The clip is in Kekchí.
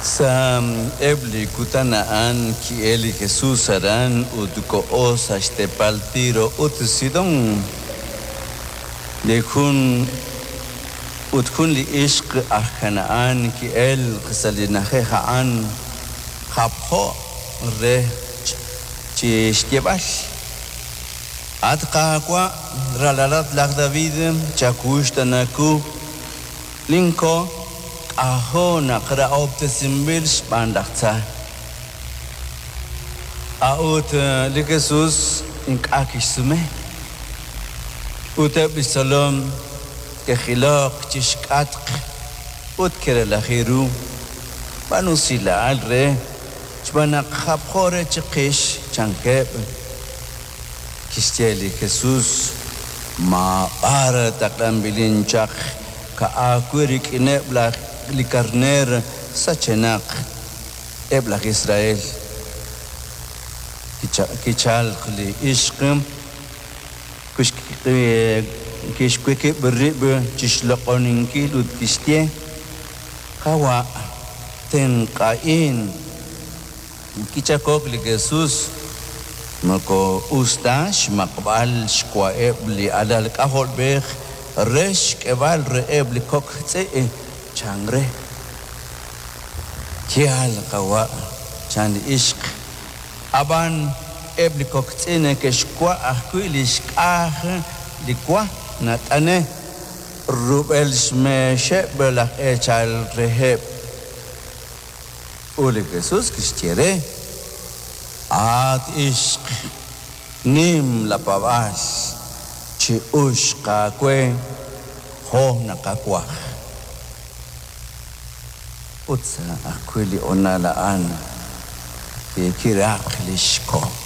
Sa' eb' li kutan a'an ki'elk li Jesus aran ut koho sa' xteepal Tiro ut Sidón. Li jun ut jun li ixq aj Kanahán ki'elk sa' li na'ajej a'an, japjo re chi xyeeb'al: At Qaawa', ralalat laj David, chawuxtaana wu. Linko' k'ajo' naq rahob'tesinb'il xb'aan laj tza. A'ut li Jesus ink'a' kixsume. Ut eb' li xtzolom ke'jilok chi xk'atq ut ke'relaji ru, B'aanu usilal re, xb'aan naq japjo re chiqix, chankeb'. Kixye li Jesus, Maab'ar taqlanb'ilin chaq ka'ajwi' rik'ineb' laj li karneer sachenaq eb' laj Israel. Kichalk li ixq, kixwiqib' rib' chi xloq'oninkil ut kixye, Qawa', tenq'a'in. Kichaq'ok li Jesus, Moko us ta xmaq'b'al xwa'eb' li alal k'ajolb'ej re xk'eb'al reheb' li kok' tz'i', chan re. Yaal, Qawa', chan li ixq, ab'an eb' li kok' tz'i' neke'xwa' ajwi' li xk'aj li wa nat'ane' rub'el xmeexeb' laj eechal reheb'. Ut li Jesus kixye re, At ixq, nim lapaab'aal, chi'uxq aawe jo' nakawaj. Ut sa' ajwi' li honal a'an kiraq li xko'.